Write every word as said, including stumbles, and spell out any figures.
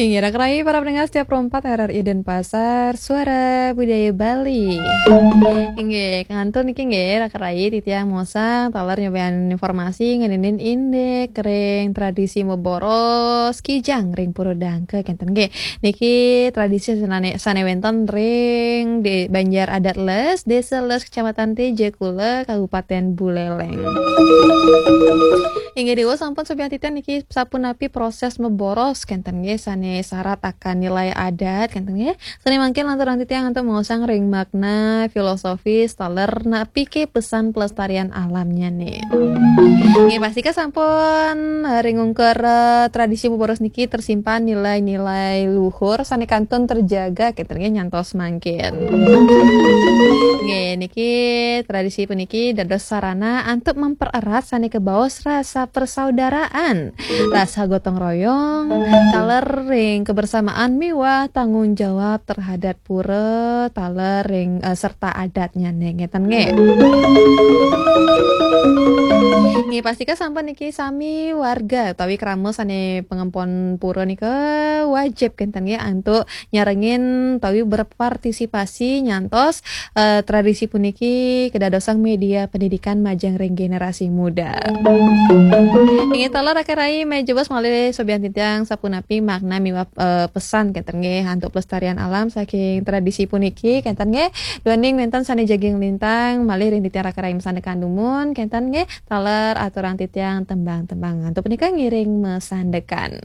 Inggih, raka rayi para pendengar setia Pro empat R R I Denpasar, Suara Budaya Bali. Inggih, kangantun niki nggih, raka rayi titiang maosang taler nyobian informasi ngeninin indik ring tradisi meboros kijang ring Pura Dangka kenten nggih. Niki tradisi sane, sane wenten ring di Banjar Adat Les, Desa Les, Kecamatan Tejakula, Kabupaten Buleleng. Inggih, Dewa sampun sobian titiang niki sapunapi proses meboros kenten nggih, sane syarat akan nilai adat kenten nggih. Sane mangkin lanturang titiang antuk maosang ring makna filosofis taler napike pesan pelestarian alamnya nih. Nggih, pastika sampun, eh, ring ungkur, eh, tradisi meboros niki tersimpan nilai-nilai luhur sane kantun terjaga kenten nggih nyantos mangkin. Nggih, niki tradisi puniki dados sarana antuk mempererat sane kebaos rasa persaudaraan, rasa gotong royong, taler ring kebersamaan miwah tanggung jawab terhadap pura, taler ring, eh, serta adatnya nih, ngeten nggih. Nggih, pastika sampun niki sami warga utawi krama sane pangempon pura nika wajib kenten nggih antuk nyarengin utawi berpartisipasi nyantos, eh, tradisi puniki kedadosang media pendidikan majeng ring generasi muda. Inggih taler raka rayi, malih jebos malih sobian titiang sapunapi makna miwah, eh, pesan kenten nggih antuk pelestarian alam saking tradisi puniki kenten nggih. Duaning wenten sane jagi nglintang malih ring titiang raka rayi masandekan dumun kenten nggih. Taler aturang titiang tembang-tembang. Antuk punika ngiring masandekan.